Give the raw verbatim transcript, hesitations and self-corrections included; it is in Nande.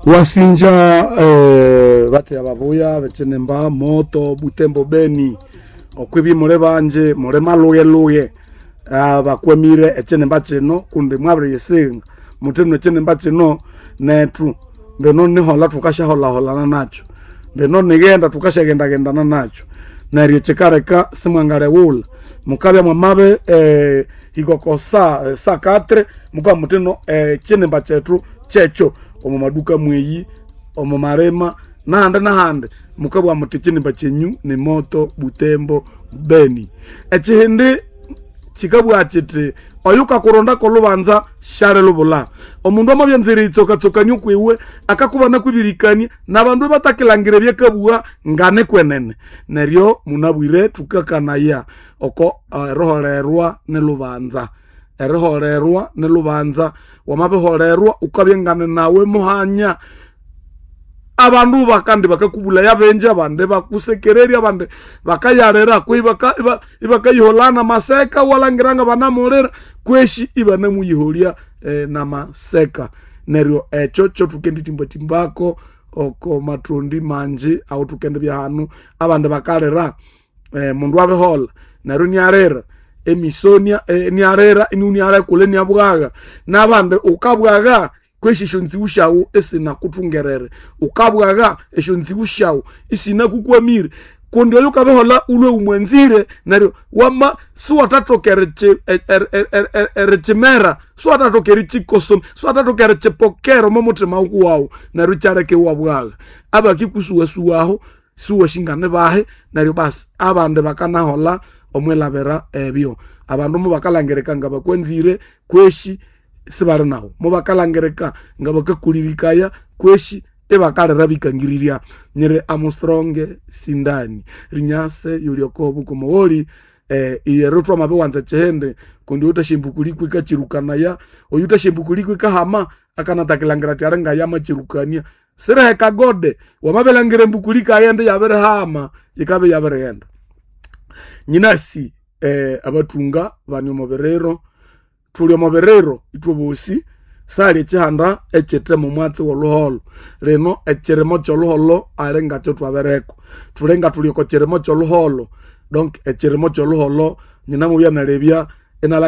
Wasinja eh, bateya babuya bechenemba moto Butembo Beni okwibi mule banje mule maluye-luye ah, bakwamire echinemba kino kundi mwabiriyisinga muthino echinemba kino nethu mbino nihola thukasyaholhaholana nakyo mbino nighenda thukasyagendagendana nakyo neryo kikaleka simwangaleghulha mukabya mwamabe eh, hikoko sa eh, sa katre mukabya muthino ekinimba kyethu kyekyo omu maduka mweyi omu malima nahandi nahandi mukabugha muthi ekinimba kyenyu ni moto Butembo Beni. Ekihindi kikabugha kiti oyukakurondako olubanza syalilubulha. Omundu amabya anzire eritsokatsokania okwiwe akakubana kwibirikania nabandu ibatakilangira ebyakabugha nganikwenene. Neryo munabwire thukakanaya oko eriholerwa nilubanza, eriholerwa nilubanza. Wamabiholerwa wukabya ngane nawe muhanya. Abandu bakandi bakakubulaya benji abandi bakusekererya abandi bakayalira kwehi ibakayiholana namaseka iwalhangira ngabanamulira kweshi ibanamuyiholya eh, namaseka. Neryo ekyo kyothukendithimbathimba oko mathondi manji awuthukendibya hanu abandi bakalira eh, mundu abiholha neryo inialira emisonia eh, inialira inialekula iniabwagha nabandi wukabwagha kweshi esyonziwu syawu isinakuthungerere wukabwagha esyonziwu syawu isinakukwamire kundi oyo wukabiholha wulwe wumwanzire neryo wama siwathathoka erikyimera siwathathoka erikyikosoma siwathathoka erikyipokera omo muthima wukuwawu neryo ikyaleka iwabwagha. Abakikusuwasuwaho siwasi bahi neryo basi abandi bakanaholha omwilhabira ebyo. Abandu mubakalhangirika ngabakwanzire kweshi sibali nawu, mubakalhangirika ngabakakulirikaya kweshi ibakalira bikangirirya. Nyiri Armstrong Sindani rinyase yuli oko bukomogholi eh, iyero thwamabiwanza ekihindi kundi oyuthasyambukuli ikakyirukanaya oyuthasyambukuli ikahama akanathakilangira athi alinga yamakyirukania. Siriheka gode wamabilhangira embukuli ikaghenda iyabirihama yikabya iyabirighenda. Nyinasi eh, abathunga bani omo biriro, thuli omo biriro ithwebosi sali ekihanda ekyithe momwatsi wolhuholho. Lino ekirimo kyolhuholho ali ngakyo thwabiriko. Thuli nga thuli oko kirimo kyolhuholho donc ekirimo kyolhuholho nyinamubya nalebya inalhangira.